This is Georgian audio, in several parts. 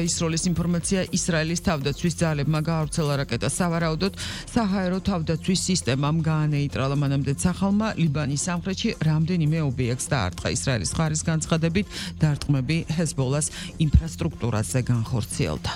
ისროლის ინფორმაცია ისრაელის თავდაცვის ძალებმა გაავრცელა რაკეტა სავარაუდოდ საჰაერო თავდაცვის სისტემამ გაანეიტრალა მანამდე სახალმა ლიბანის სამხრეთში რამდენიმე ობიექტს დაარტყა ისრაელის მხარის განცხადებით დარტყმები ჰეზბოლას ინფრასტრუქტურაზე განხორციელდა.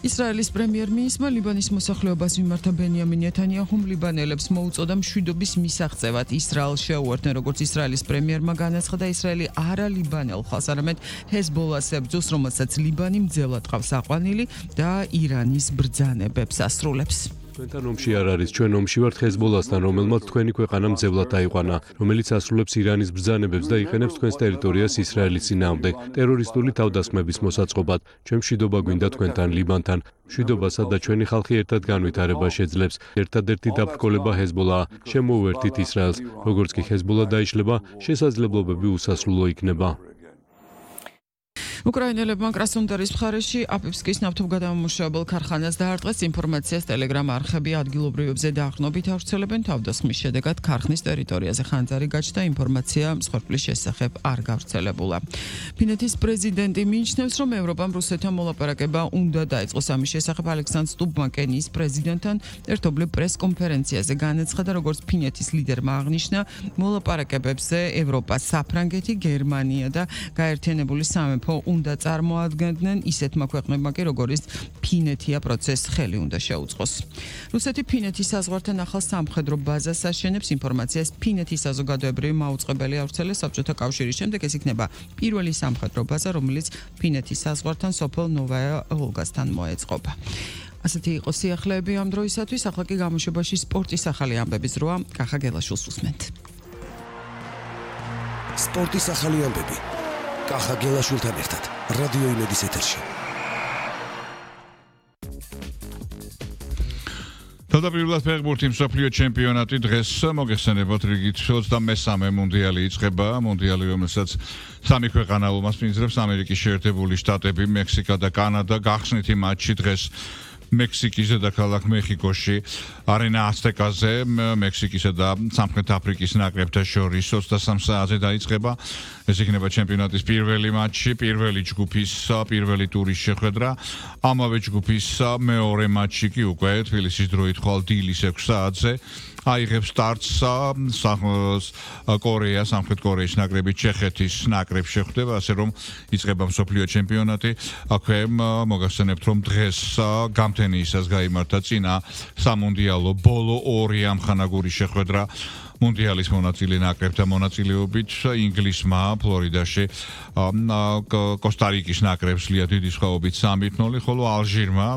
ისრაელის პრემიერ-მინისტრმა ლიბანის მოსახლეობას მიმართა ბენიამინ ნეთანიაჰუმ ლიბანელებს მოუწოდა მშვიდობის მისაღწევად ისრაელს შეუერთდნენ, როგორც ისრაელის პრემიერმა განაცხადა, ისრაელი არა ლიბანელ ხალხს, არამედ ჰეზბოლას ებრძოს, რომელსაც ლიბანი მძელად ყავს აყვანილი და ირანის ბრძანებებს ასრულებს. Თქვენთან ომში არ არის, ჩვენ ომში ვართ ჰეზბოლასთან, რომელმაც თქვენი ქვეყანა მძევლად დაიყვანა, რომელიც ასრულებს ირანის ბრძანებებს და იყენებს თქვენს ტერიტორიას ისრაელის წინააღმდეგ, ტერორისტული თავდასხმების მოსაწყობად. ჩვენ მშვიდობა გვინდა თქვენთან, ლიბანთან. მშვიდობასა და ჩვენი ხალხი ერთად განვითარება შეძლებს. ერთადერთი დაბრკოლება ჰეზბოლაა. შემოუერთით ისრაელს. როგორც კი ჰეზბოლა დაიშლება, შესაძლებლობები უსასრულო იქნება. უკრაინელებმა კრასნოდარის მხარეში აპიფსკის ნავთობგადამამუშავებელ ქარხანას დაარტყეს. ინფორმაციას ტელეგრამ არხები ადგილობრივებზე დაახლოებით ავრცელებენ. თავდასხმის შედეგად ქარხნის ტერიტორიაზე ხანძარი გაჩნდა. ინფორმაცია მსხვერპლის შესახებ არ გავრცელებულა. ფინეთის პრეზიდენტი მიიჩნევს, რომ ევროპამ რუსეთთან მოლაპარაკება უნდა დაიწყოს. ამის შესახებ ალექსანდრ სტუბმა კენიის პრეზიდენტთან ერთობლივ პრესკონფერენციაზე განაცხადა, როგორც ფინეთის ლიდერმა აღნიშნა, მოლაპარაკებებზე ევროპა, საფრანგეთი, გერმანია და გაერთიანებული სამეფო უნდა წარმოადგენდნენ ისეთმა ქვეყნებმა კი როგორც ფინეთია პროცესს ხელი უნდა შეუწყოს. რუსეთი ფინეთის საზღვართან ახალ სამხედრო ბაზას აშენებს. ინფორმაციას ფინეთის საზოგადოებრივი მაუწყებელი ავრცელებს. საბჭოთა კავშირის შემდეგ ეს იქნება პირველი სამხედრო ბაზა, რომელიც ფინეთის საზღვართან სოფელ ნოვაია ვოლგასთან მოეწყობა. ასეთი იყო სიახლეები ამ დროისათვის. ახლა კი გამოშვებაში სპორტის ახალი ამბების როა კახა გელაშვილს უსმენთ. სპორტის ახალი ამბები კახა გელაშვილთან ერთად რადიო იმედის ეთერში. თავდაპირველად ფეხბურთი მსოფლიო ჩემპიონატი დღეს მოგეხსენებათ რიგით 23-მე მუნდიალი იწყება. მუნდიალი, რომელსაც სამი ქვეყანა უმასპინძლებს: ამერიკის შეერთებული შტატები, მექსიკა და კანადა. გახსნითი მატჩი დღეს მექსიკის დედაქალაქ მეხიკოში არენა აზტეკაზე მექსიკისა და სამხრეთ აფრიკის ნაკრებთა შორის 23 საათზე დაიწყება. ეს იქნება ჩემპიონატის პირველი მატჩი, პირველი ჯგუფის პირველი ტურის შეხვედრა. ამავე ჯგუფის მეორე მატჩი კი უკვე თბილისის დროით ხვალ დილის 6 საათზე აიღებს სტარტს კორეა, სამხრეთ კორეის ნაკრები ჩეხეთის ნაკრებს შეხვდება, ასე რომ იწყება მსოფლიო ჩემპიონატი. აქვე მოგახსენებთ, რომ დღეს გამთენიისას გაიმართა წინა სამუნდიალო ბოლო ორი ამხანაგური შეხვედრა. მუნდიალის მონაწილე ნაკრებთა მონაწილეობით ინგლისმა ფლორიდაში კოსტა-რიკის ნაკრებს ლია დიდი სხვაობით 3-0, ხოლო ალჟირმა